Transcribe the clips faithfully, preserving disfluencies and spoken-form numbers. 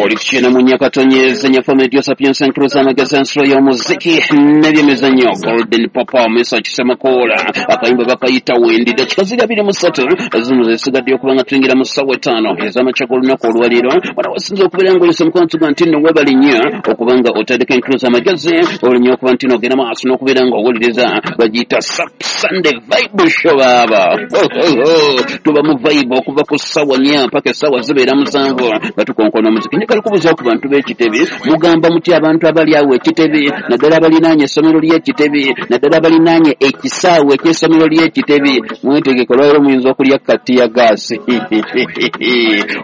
Oli kukyena mu nyakatonyeze nyafa medio sapiensa nkruza amagezi ensolo y'omuziki n'ebyemizannyo Golden Papa Mesa Kisemakoola akayimba bakayita Wendi. Dakika ziri abiri mu ssatu zino zesigadde okuba nga tuyingira mu ssaawa etaano ez'amakya g'olunaku olwaleero. Wano wasinza okubeera ng'olese mukwano tuga nti nno weebale nnyo okuba nga otandika enkruza amagezi olinnya okuba nti n'ogenda maaso n'okubeera ng'owuliriza bagiyita Sunday Vibe Show baaba. Tuba mu vibe okuva ku ssaawa nnya mpaka essaawa zibeera musanvu nga tukonkona omuziki. Njagala kubuuza ku bantu b'ekitebi, mugamba mutya abantu abali awo ekitebi, naddala abalinaanye essomero ly'ekitebi, naddala abalinaanye ekisaawe eky'essomero ly'ekitebi, mwetegeke olwaleero muyinza okulya katiya gaasi.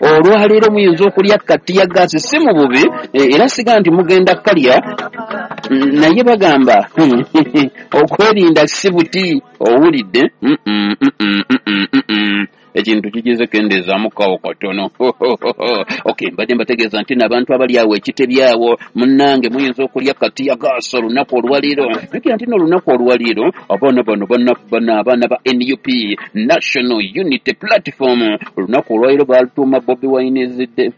Olwaleero muyinza okulya katiya gaasi si mu bubi, era siga nti mugenda kalya, naye bagamba okwerinda si buti. Owulidde? Ekintu kigize kendeezaamukawo katono. Okay, mbadde mbategeeza nti n'abantu abali awo ekitebi awo munnange muyinza okulya katiya gaasi olunaku olwaleero. Jjukira nti n'olunaku olwaleero abaana bano bano abaana ba N U P National Unity Platform olunaku olwaleero balutuuma Bobi Wine's Day.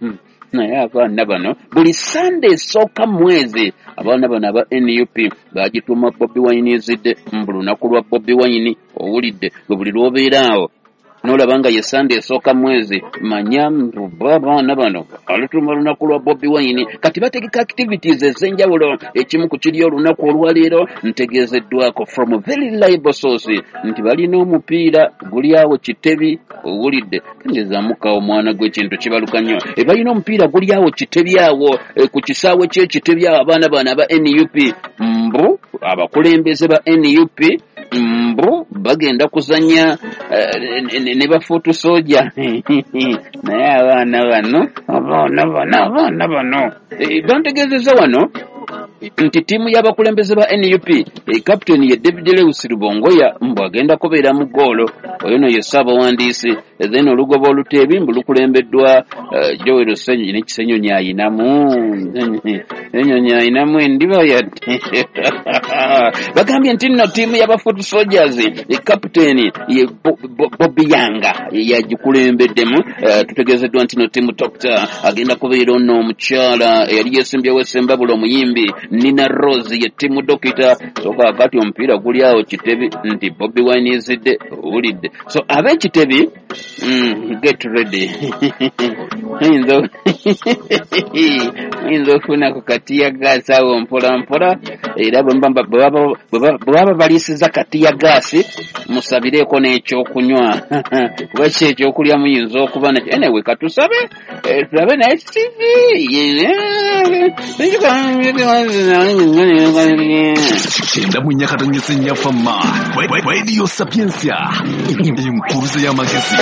Naye abaana bano buli Sunday esooka mwezi abaana bano aba N U P bagituuma Bobi Wine's Day, mbu lunaku lwa Bobi Wine. Owulidde? Gwe buli lw'obeera awo n'olaba nga ye Sunday esooka mwezi, manya abaana bano alutuuma lunaku lwa Bobi Wine. Kati bategeka activities ez'enjawulo. Ekimu ku kiri olunaku olwaleero ntegeezeddwako from very reliable source nti balina omupiira guli awo Kitebi. Owulidde? Kendeezaamukawo omwana gw'ekintu kibaluka nnyo. E balina omupiira guli awo Kitebi awo e, ku kisaawe ky'Ekitebi awo abaana bano aba N U P mbu abakulembeze ba N U P mbu bagenda kuzannya uh, ne bafuutu soja. Naye abaana bano abaana bano abaana bano bantegeezezza wano nti ttiimu y'abakulembeze ba N U P kapiteni ye David Lewis Rubongoya mbu agenda kubeera mu ggoolo, oyo no ye ssaabawandiisi. Then olugoba oluteebi mbu lukulembeddwa Joel Ssenyonyi ne Kisenyonyi ayinamu Ssenyonyi ayinamu endiba yadde. Bagambye nti nno ttiimu y'aba foot soldiers kapiteni ye Bobi Yanga yagikulembeddemu. Tutegeezeddwa nti nno ttiimu Doctor agenda kubeera ono omukyala eyali yeesimbyewo Sembabule omuyimbi Nina Rose ye ttiimu Dokita. So kaakati omupiira guli awo Kitebi nti Bobi Wine is Day. Owulidde? So ab'Ekitebi mm, get ready. Muyinza okufuna ku katiya gaasi awo mpola mpola, era bwe baba baliisiza katiya gaasi musabireeko n'ekyokunywa kuba ki ekyokulya muyinza okuba nakyo. Anyway, katusabe tulabe naye Kyenda mu nyakatonyeze nyafa ma Radio Sapiensia enkuruze y'amagezi.